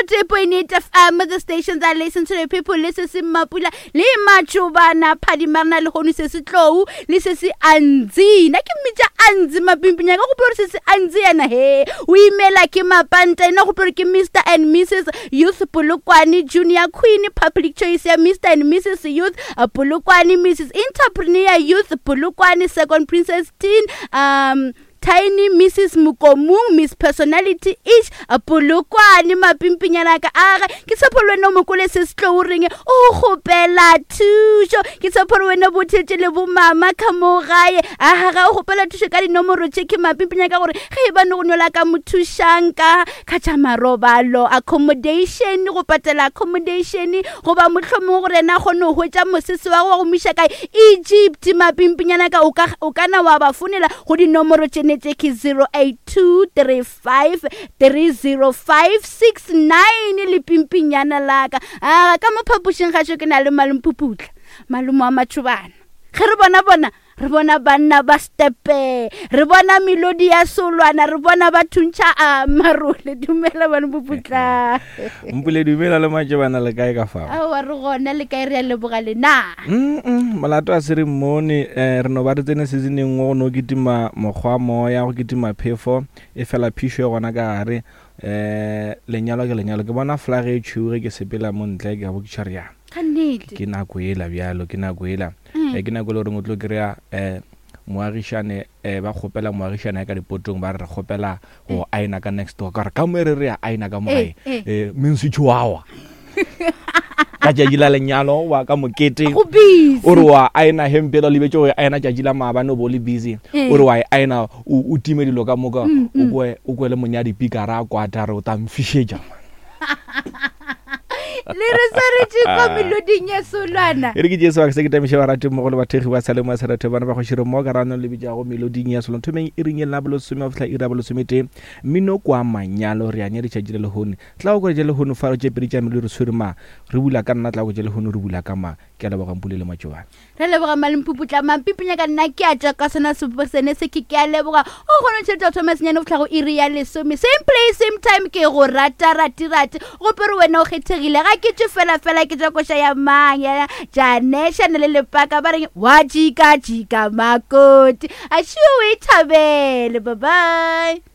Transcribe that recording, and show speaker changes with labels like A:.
A: 103.8 FM, the stations that listen to the people, le se se Mapula, le Matšobana, Phadimarna, le hono se se Tlou, le se se Anzi. Na ke mmitša Anzi Mapimpinya, ka gopola gore se se Anzi yena he. O imela ke Mapanta, ena gopola gore ke Mr and Mrs Youth Polokwane, Junior Queen, Public Choice ya Mr and Mrs Youth Polokwane, Mrs Entrepreneur Youth Polokwane, Second Princess Teen, um Tiny Mrs Mokomung Miss Personality ish Polokwane mapimpinyana ka aga ke tshepo le wena o mokole se se tlo o reng o kgopela thušo ke tshepo le wena bothetše le bomama ka mo gae aga ga o kgopela thušo ka dinomoro tše ke mapimpinyana ka gore ge e ba ne go nyola ka mo thušang ka ka tša marobalo accommodation go patela accommodation goba mohlomongwe gore yena a kgone go hwetša mosese wa go wa go mo iša kae Egypt mapimpinyana ka o ka na wa ba fonela go dinomoro tše ne tše ke 0823530569 le pimpinyana laka a ka mo phapošing gašo ke na le malomphuputla malomo wa matšhobana ge re bona bona re bona banna ba stepe re bona melodi ya solwana re bona ba thuntšha a marole dumela bane boputla
B: mpule dumela le matšebana le kae ka fao
A: aowa re gona le kae re a leboga lena
B: molato a se re mmone um re no ba re tsene seasoneng nngwe go no kitima mokgwa moya go kitima phefo e fela phišo e gona ka gare um lenyalo ke lenyalo ke bona flag e tšhweu ge ke sepela mo ntle ke a bo ke tšhare ya ke nako ela bjalo ke nako ela mm. ke nako e le goreng o tlo kry-a um moagišane um ba kgopela moagišane ya ka dipotong ba re re kgopela go aena ka next door ka re ka mo e re re ya aena ka mo gae um mense chihuahua ka tšatši la lenyalo wa ka mokete o re wa aena hempe la lebetse go aena tšatši la maabane o bo le busy o re wa e aena o time dilo ka moka o kwe le monyadi pikara a kwata re o tla mfišetša
A: le re swaretše kwa meloding ya solwana
B: e re ke jesu se ke tamiše barati mmogo le bathekgi ba salemo ya serethe bana ba kgošire mo ka rano le bitšago meloding ya solwana thomeng e ring e la bolesome go fihla iri ya bolesometee mmino kwa manyalo re a nya ditšatši le lehone tla go kwetše lehono fa tše pedi tša melodi re tshwere ma re bula ka nna tla go tše lehono re bula ka ma ke a leboga mpule le matšobane
A: Re leboga Malempuputla Mampipinya ka nna ke a tšwa ka sona sebopo sene se ke ke a leboga o kgone tšhelete go thoma senyane go tlhago iri ya lesome same place same time ke go rata rati rati gope re wena o kgethegile ga ke tšwe fela fela ke tšwa koša ya mang ya janešana le lepaka ba reng wa jika jika makoti a šiwe o e thabele bye bye.